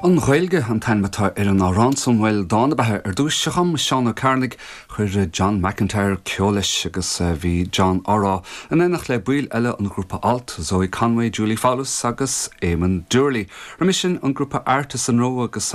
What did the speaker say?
An Ghaeilge an t-ainm atá ar an amhrán san, bhuel, dán ab ea ar dtúis a chum Seán Ó Cearnaigh. Chuir John McIntyre ceol leis agus bhí John á rá in éineacht le baill eile an ghrúpa Alt, Zoe Conway, Julie Fowlis agus Éamon Doorley. Roimhe sin an grúpa Art is Anró agus.